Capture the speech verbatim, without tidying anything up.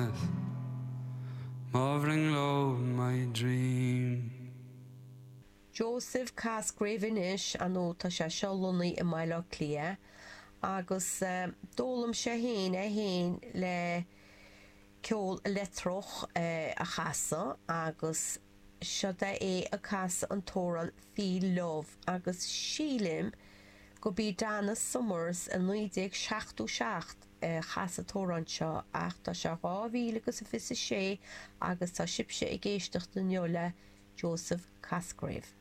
Smith, Mo bhrionglóid, my dream. Joseph Cosgrave anois, ar ndóigh tá sé seo lonnaithe i mBaile Átha Cliath agus d'fhoghlaim sé féin é féin le ceol leictreach a chasadh agus seod é é ag casadh an t-amhrán Feel Love agus sílim go b'í Donna Summers i naoi déag seachtó seacht a chas an t-amhrán seo ach tá sé dhá mhíle agus a fiche a sé agus tá sibhse ag éisteacht inniu le Joseph Cosgrave.